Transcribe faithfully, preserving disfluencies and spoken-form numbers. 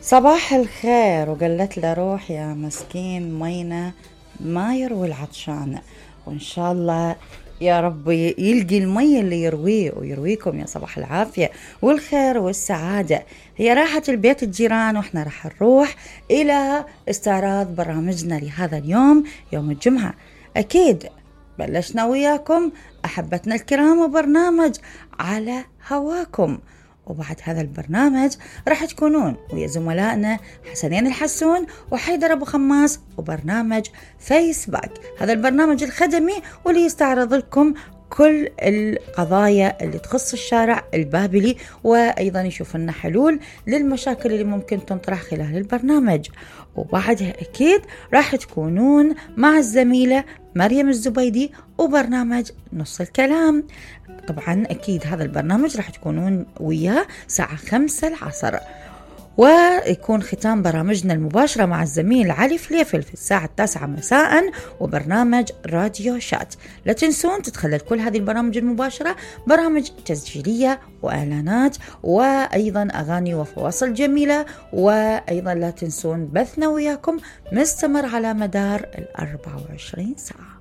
صباح الخير. وقالت له روح يا مسكين مينا ما يروي العطشان، وإن شاء الله يا رب يلقي المي اللي يرويه ويرويكم يا صباح العافية والخير والسعادة. هي راحة البيت الجيران، وإحنا راح نروح إلى استعراض برامجنا لهذا اليوم يوم الجمعة. أكيد بلشنا وياكم أحبتنا الكرام وبرنامج على هواكم، وبعد هذا البرنامج راح تكونون ويا زملائنا حسنين الحسون وحيدر أبو خماس وبرنامج فيس باك. هذا البرنامج الخدمي واللي يستعرض لكم كل القضايا اللي تخص الشارع البابلي، وأيضا يشوف لنا حلول للمشاكل اللي ممكن تنطرح خلال البرنامج. وبعدها أكيد راح تكونون مع الزميلة مريم الزبيدي وبرنامج نص الكلام. طبعا أكيد هذا البرنامج راح تكونون وياه ساعة خمسة العصر، ويكون ختام برامجنا المباشرة مع الزميل علي فليفل في الساعة التاسعة مساء وبرنامج راديو شات. لا تنسون تتخلل كل هذه البرامج المباشرة برامج تسجيلية وإعلانات وأيضا أغاني وفواصل جميلة، وأيضا لا تنسون بثنا وياكم مستمر على مدار الأربعة وعشرين ساعة.